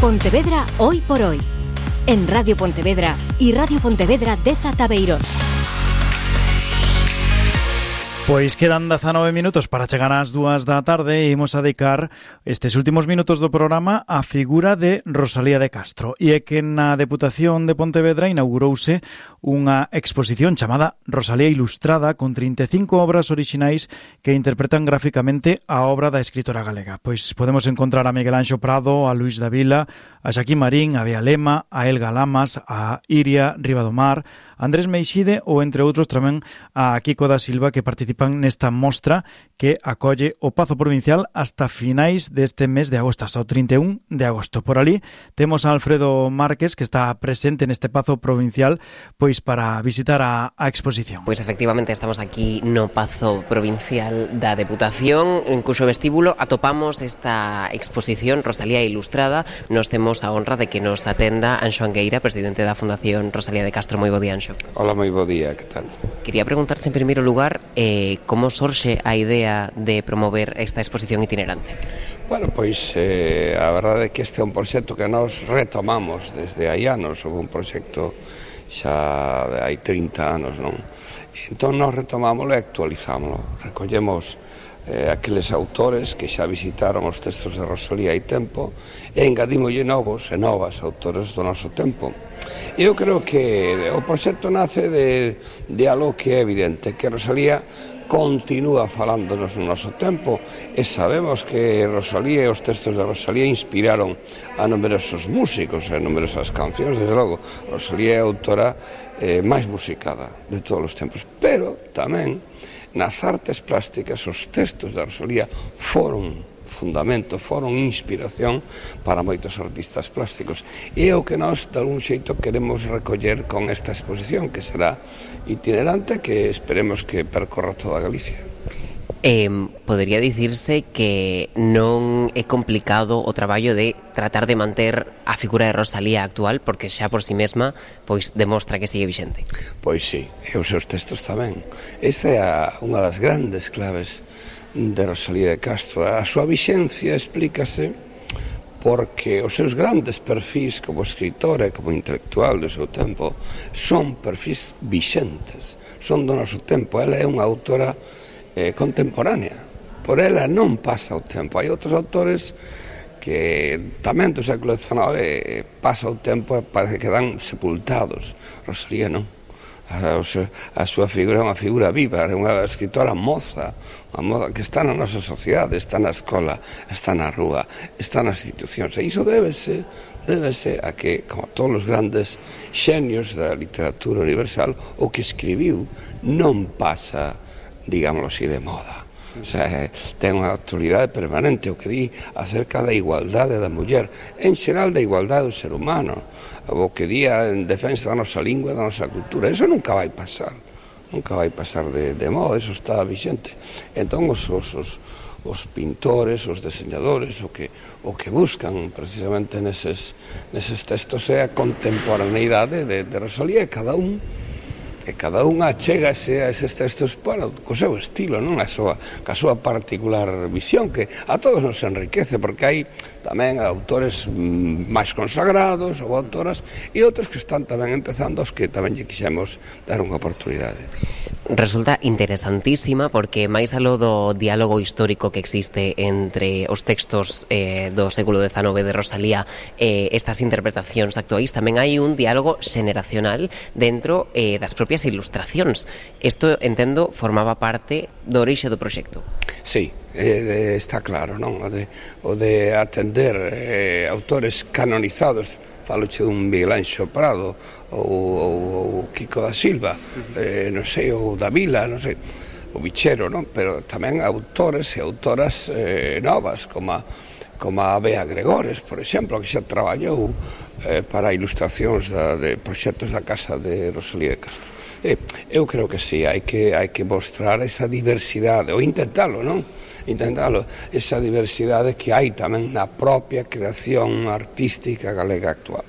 Pontevedra hoy por hoy. En Radio Pontevedra y Radio Pontevedra de Tabeirós. Pois quedan 19 minutos para chegar ás 2 da tarde e imos a dedicar estes últimos minutos do programa á figura de Rosalía de Castro. E é que na Deputación de Pontevedra inaugurouse unha exposición chamada Rosalía Ilustrada con 35 obras orixinais que interpretan gráficamente a obra da escritora galega. Pois podemos encontrar a Miguel Anxo Prado, a Luís Davila, a Xaquín Marín, a Bea Lema, a Elga Lamas, a Iria Ribadomar, a Andrés Meixide ou, entre outros, tamén a Kiko da Silva, que participan nesta mostra que acolle o Pazo Provincial hasta finais deste mes de agosto, hasta o 31 de agosto. Por ali temos a Alfredo Márquez, que está presente neste Pazo Provincial, pois para visitar a exposición. Pois efectivamente estamos aquí no Pazo Provincial da Deputación, en cuxo vestíbulo atopamos esta exposición Rosalía Ilustrada. Nos temos a honra de que nos atenda Anxo Angueira, presidente da Fundación Rosalía de Castro. Moi bo día, Anxo. Hola, moi bo día, que tal? Quería preguntarse en primeiro lugar como sorxe a idea de promover esta exposición itinerante. Bueno, pois a verdade é que este é un proxecto que nós retomamos desde hai anos, houve un proxecto xa de hai 30 anos, non? Entón nós retomámoslo e actualizámoslo, recollemos aqueles autores que xa visitaron os textos de Rosalía hai tempo e engadímolle novos e novas autores do noso tempo. Eu creo que o proxecto nace de algo que é evidente, que Rosalía continúa falándonos no noso tempo e sabemos que Rosalía e os textos de Rosalía inspiraron a numerosos músicos e a numerosas cancións. Desde logo, Rosalía é a autora máis musicada de todos os tempos, pero tamén nas artes plásticas os textos de Rosalía foron fundamento, foron inspiración para moitos artistas plásticos. E é o que nós, de algún xeito, queremos recoller con esta exposición, que será itinerante, que esperemos que percorra toda Galicia. Podería dicirse que non é complicado o traballo de tratar de manter a figura de Rosalía actual, porque xa por si mesma pois demostra que sigue vixente. Pois sí, e os seus textos tamén. Esta é unha das grandes claves de Rosalía de Castro. A súa vixencia explícase porque os seus grandes perfis como escritora e como intelectual do seu tempo son perfis vixentes, son do noso tempo. Ela é unha autora contemporánea, por ela non pasa o tempo. Hai outros autores que tamén do século XIX pasa o tempo e parece que quedan sepultados. Rosalía non. A súa figura é unha figura viva, é unha escritora moza, unha moza que está na nosa sociedade, está na escola, está na rúa, está nas institucións. E iso débese a que, como todos os grandes xenios da literatura universal, o que escribiu non pasa, digámoslo así, de moda. O sea, ten unha actualidade permanente. O que di acerca da igualdade da muller, en xeral da igualdade do ser humano, o que di en defensa da nosa lingua, da nosa cultura, eso nunca vai pasar, nunca vai pasar de moda, eso está vixente. Entón os pintores, os diseñadores, o que buscan precisamente neses textos é a contemporaneidade de Rosalía, e cada un achégase a eses textos co seu estilo, non? Ca súa particular visión, que a todos nos enriquece, porque hai tamén autores máis consagrados ou autoras e outros que están tamén empezando, aos que tamén lle quixemos dar unha oportunidade. Resulta interesantísima porque máis aló do diálogo histórico que existe entre os textos do século XIX de Rosalía e estas interpretacións actuais, tamén hai un diálogo xeneracional dentro das propias ilustracións. Isto, entendo, formaba parte do orixe do proxecto. Sí, está claro, non? O de atender autores canonizados, faloche dun Miguel Anxo Prado ou Kiko da Silva, non sei, ou Davila, non sei, o Bichero, non? Pero tamén autores e autoras novas, como a Bea Gregores, por exemplo, que xa traballou para ilustracións de proxectos da casa de Rosalía de Castro. Eu creo que sí, hai que mostrar esa diversidade, ou intentalo, non? Esa diversidade que hai tamén na propia creación artística galega actual.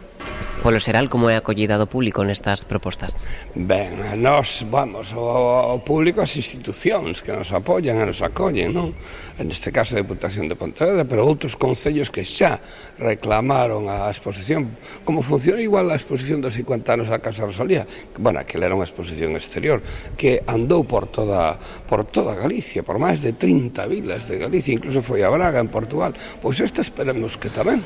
Polo xeral, como é a acollida do público nestas propostas? Ben, nós, vamos, o público, as institucións que nos apoian e nos acollen, non? Neste caso a Deputación de Pontevedra, pero outros concellos que xa reclamaron a exposición, como funciona igual a exposición dos 50 anos da Casa Rosalía, que, bueno, aquela era unha exposición exterior, que andou por toda Galicia, por máis de 30 vilas de Galicia, incluso foi a Braga, en Portugal. Pois esta esperemos que tamén,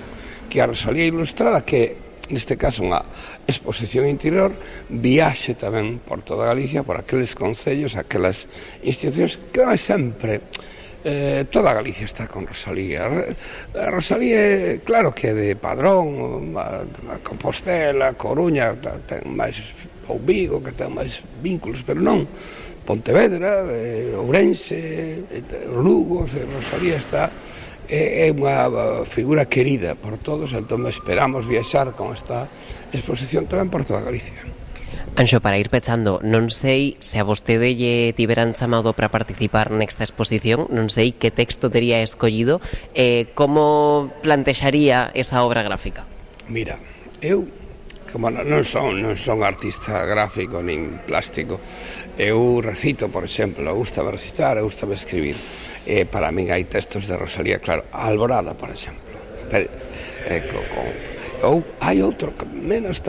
que a Rosalía Ilustrada, que neste caso unha exposición interior, viaxe tamén por toda Galicia, por aqueles concellos, aquelas institucións que vai sempre, toda Galicia está con Rosalía. A Rosalía, claro que é de Padrón, a Compostela, a Coruña, ten máis, ou Vigo, que ten máis vínculos, pero non Pontevedra, Ourense, Lugo, Rosalía está... É unha figura querida por todos, entón esperamos viaxar con esta exposición tamén por toda Galicia. Anxo, para ir pechando, non sei se a vostede lle tiveran chamado para participar nesta exposición, non sei que texto tería escollido, como plantexaría esa obra gráfica? Mira, eu, como non son artista gráfico nin plástico, eu recito, por exemplo, gustame recitar, gustame escribir. Para min hai textos de Rosalía, claro, a Alborada, por exemplo, ou hai outro menos